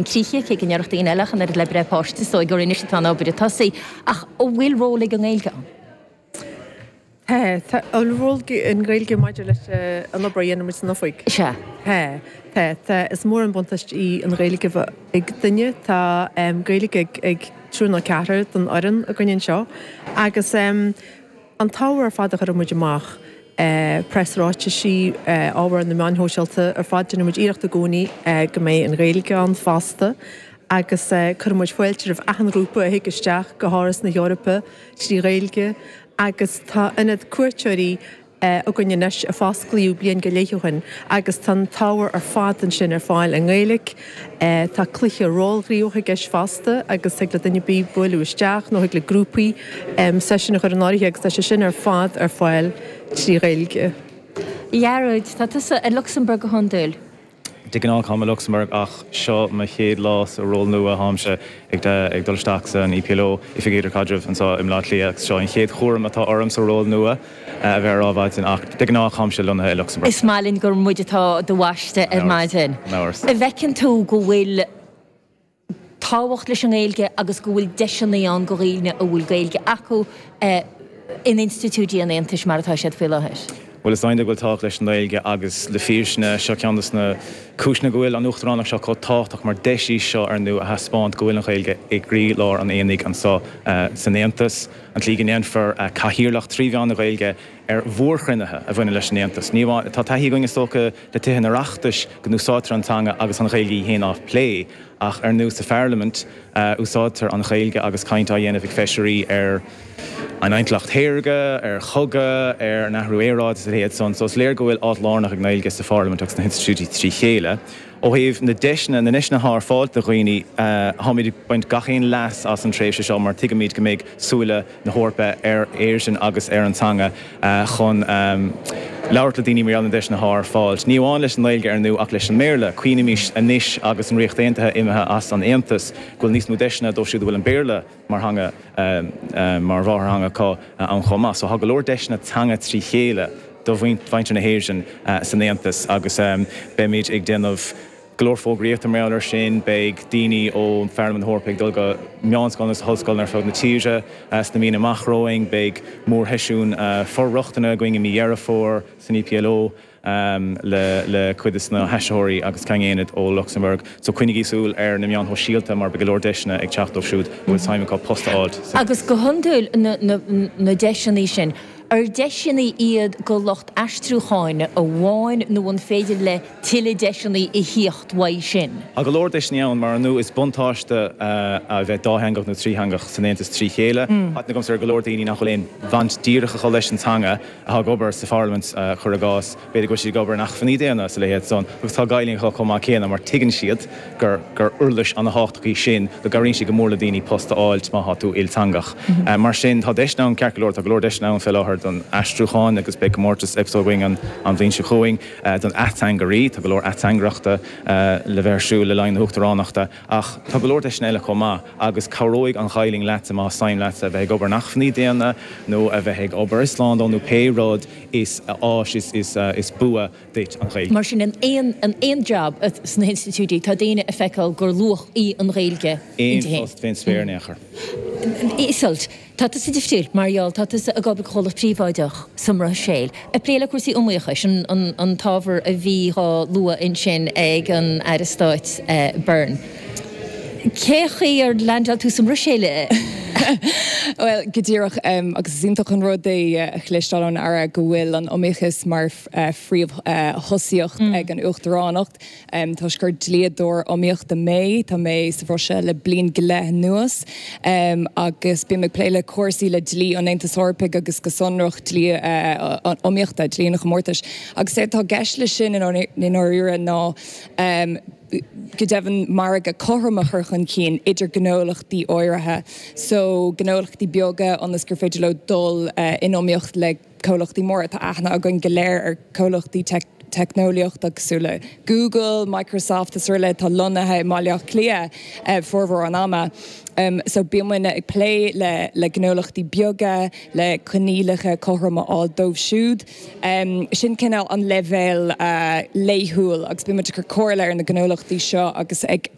Críche, cé go ndéarfadh daoine eile ach an oiread le breith páiste, is dóigh gur anois atá an obair ag tosaí. Ach an bhfuil ról ag an nGaeilge ann? Tá, tá. An bhfuil ról ag an nGaeilge maidir leis an obair a dhéanann muid san oifig? Sea. Tá, tá, tá. Is mór an buntáiste í an Ghaeilge a bheith ag duine. Tá Gaeilge ag triúr nó ceathrar den fhoireann againn anseo agus An t-ábhar ar fad a chuireann muid amach, preasráitisí, ábhar ar na meáin shóisialta ar fad, déanann muid iarracht i gcónaí go mbeidh an Ghaeilge ann fosta agus cuireann muid fáilte roimh achan ghrúpa a thig isteach go hÁras na hEorpa trí Ghaeilge agus tá ionad cuairteoirí againn anois a fosclaíodh bliain go leith ó shin agus tá an t-ábhar ar fad ansin ar fáil i nGaeilge. Tá cluiche rólghníomhach i gceist fosta agus thig le duine ar bith bualadh isteach nó thig le grúpaí seisiún a chur in áirithe agus tá sé sin ar fad ar fáil trí Ghaeilge. A Ghearóid, tá tusa i Lucsamburg go hiondúil. De ghnáth táim i Lucsamburg ach seo mo chéad lá sa ról nua, táimse ag dul isteach san EPLO, Oifig Idirchaidrimh, anseo i mBleá Cliath agus seo an chéad chúram atá orm sa ról nua a bheith ar Adhmhaidin ach de ghnáth táimse lonnaithe i Lucsamburg. Is maith linn gur muid atá do bhaisteadh ar maidin. Gan amhras. An bhfeiceann tú go bhfuil tábhacht leis an nGaeilge agus go bhfuil deiseanna ann do dhaoine a bhfuil Gaeilge acu in institiúidí an Aontais mar atá siad faoi láthair? Bhuel, is cinnte go bhfuil tábhacht leis an nGaeilge agus le fírinne, seo ceann de na cúiseanna go bhfuil an Uachtaránacht seo chomh tábhachtach mar deis í seo ar ndú a thaispeáint go bhfuil an Ghaeilge i gcroílár an aonaigh anseo san Aontas. An tslí go ndéanfar cathaoirleacht trí mheán na Gaeilge ar mhórchruinnithe a bhaineann leis an Aontas. Ní amháin, tá taithí againn is dócha le Tithe an Oireachtais go n-úsáidtear an teanga agus an Ghaeilge í féin á plé, ach ar ndú sa Pharlaimint úsáidtear an Ghaeilge agus caint á dhéanamh ag feisirí ar an intleacht shaorga, ar chogadh, ar an athrú aeráide is a leithéid san. So is léir go bhfuil áit lárnach ag an nGaeilge sa Pharlaimint agus sna hinstitiúidí trí chéile. Ó thaobh na deiseanna, na ndeiseanna atá ar fáil do dhaoine, táimid ag baint gach aon leas as an tréimhse seo mar tuigimid go mbeidh súile na hEorpa ar Éirinn agus ar an teanga chun labhairt le daoine mar gheall ar na deiseanna atá ar fáil. Ní amháin leis an nGaeilge ar ndú ach leis an mBéarla. Cuimhnímis anois agus an Ríocht Aontaithe imithe as an Aontas go bhfuil níos mó deiseanna dóibh siúd a bhfuil an Béarla mar theanga mar mháthairtheanga acu ann chomh maith. So tá go leor deiseanna teanga trí chéile do mhuintir na hÉireann san Aontas agus beimid ag déanamh Go leor fógraíochta mar gheall air sin. Beidh daoine ó Pharlaimint na hEorpa ag dul go meánscoileanna agus ollscoileanna ar fud na tíre sna míonna amach romhainn. Beidh mórsheisiún for-rochtana againn i mí Dheireadh Fómhair san EPLO le cuid de na haistritheoirí agus Ceann Aonaid ó Lucsamburg. So coinnígí súil ar na meáin shóisialta mar beidh go leor deiseanna ag teacht dóibh siúd a bhfuil suim acu post a fháilt san. Agus go hiondúil na deiseanna sin, ar deiseanna iad do lucht aistriúcháin amháin nó an féidir le tuilleadh deiseanna a thíocht uaidh sin. Tá go leor deiseanna ann, mar ar ndú is buntáiste a bheith dátheangach nó trítheangach san Aontas trí chéile. Tá aithne agamsa ar go leor daoine nach bhfuil aon bhaint díreach acu leis an teanga atá ag obair sa Pharlaimint, cuir i gcás. B'fhéidir go bhfuil siad ag obair in acmhainní daonna is a leithéid san agus tá Gaeilge acu chomh maith céanna mar tuigeann siad gur gur uirlis ana-thábhachtach í sin, go gcabhraíonn sí go mór le daoine post a fháilt má tá tú ilteangach. Mar sin, tá deiseanna ann, ceart go leor, tá go leor deiseanna ann fé láthair don aistriúchán agus beidh comórtas EPSO againn an an bhliain seo chugainn don ateangairí, tá go leor ateangaireachta le bheith ar siúl le linn na huachtaránachta ach tá go leor deiseanna eile chomh maith agus cabhróidh an Ghaelainn leatsa má suim leatsa a bheith ag obair in acmhainní daonna nó a bheith ag obair i slándáil nó pé rud is áis is is bua duit an Ghaeilge. Mar sin, in aon in aon jab sna hinstitiúidí, tá daoine ag feiceáil gur luach í an Ghaeilge inti Aon féin. post fén spéir in aon chor. Iseult, tá tusa difriúil mar gheall, tá tusa ag obair do chomhlacht príobháideach sa mBruiséil, ag plé le cúrsaí iomaíochais, an an an t-ábhar a bhí dhá lua ansin ag an Aire Stáit Byrne. Cé chaoi ar leaindeáil tú sa mBruiséil? Bhuel, go díreach, agus is iontach an rud é a chloisteáil ón Aire go bhfuil an iomaíochas mar phríomhthosaíocht ag an Uachtaránacht. Toisc gur dlíodóir iomaíochta mé, tá mé sa Bhruiséil le bliain go leith anuas agus bím ag plé le cúrsaí le dlí an Aontais Eorpaigh agus go sonrach dlí iomaíochta, dlí an chomórtais. Agus is é atá i gceist leis sin i ndáiríre ná go deimhin margadh cothrom a chur chun cinn idir gnólachtaí áirithe, so gnólachtaí beaga ionas gur féidir leo dul in iomaíocht le comhlachtaí móra. Tá aithne againn go léir ar comhlachtaí. teicneolaíochta cosúil le Google, Microsoft is araile atá lonnaithe i mBaile Átha Cliath formhór an ama. So bíonn muidne ag plé le le gnólachtaí beaga, le coinníollacha cothrom a fháil dóibh siúd. Sin cineál an leibhéal laethúil agus bíonn muid ag cur comhairle ar na gnólachtaí seo agus ag.